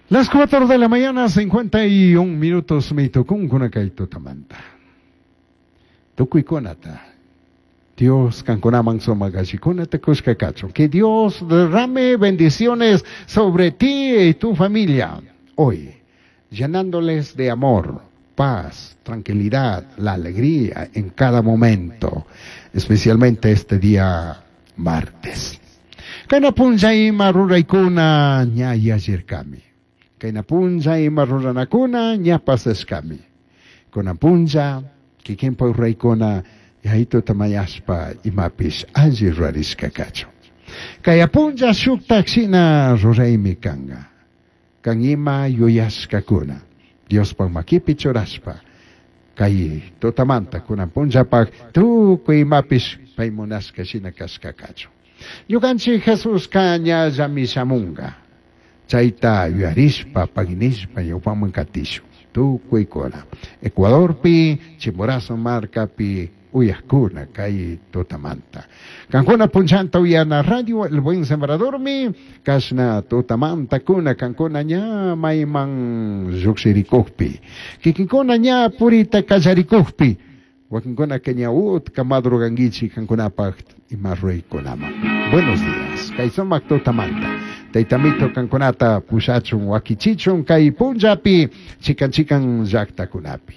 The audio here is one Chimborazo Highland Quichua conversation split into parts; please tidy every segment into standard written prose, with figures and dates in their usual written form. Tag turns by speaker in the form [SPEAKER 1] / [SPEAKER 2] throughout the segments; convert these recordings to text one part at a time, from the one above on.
[SPEAKER 1] Las 4 de la mañana, 51 minutos, mi tucunkuna kay tutamanta. Tukuykunata. Dios kankunaman sumak allikunata kushka kachun. Que Dios derrame bendiciones sobre ti y tu familia hoy, llenándoles de amor, paz, tranquilidad, la alegría en cada momento, especialmente este día martes. Kayna punlla ima ruraykuna ña yallirkami. Kayna punlla ima ruranakuna ña pasashkami. Kunan punlla kikinpa ruraykuna Yayituta mañashpa imapish alli rurarishka kachun. Kaya punlla shuktak shina ruraymi kanga. Kan ima yuyashkakuna. Diospaj makipi churashpa. Kay tutamanta kunan punllapak tukuy imapish pay munashka shina kashka kachun. Ñukanchik Jesuska ñallami shamunga. Chayta yuyarishpa, paginishpa ñawpaman katishun. Tukuykuna. Ecuadorpi, Chimborazo markapi uyakuna kay tutamanta. Kankuna punchanta uyana radio El Buen Sembradormi, kashna tutamanta kuna kankuna ña mayman llukshirikukpi. Kikinkuna ña purita kallarikukpi. Wakinkuna ña utka madrugankichik kankunapaq ima ruraykunaman. Buenos días. Kay sumak tutamanta. Taytamito kankunata pushachun wakichichun kay punllapi chikan chikan llaktakunapi.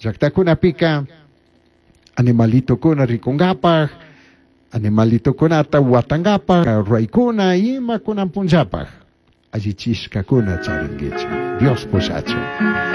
[SPEAKER 1] Llaktakunapika animalitokuna rikunkapaq, animalitokunata watankapaq, ruraykuna ima kunan punllapaq allichishkakuna charinkichik. Dios pushachun.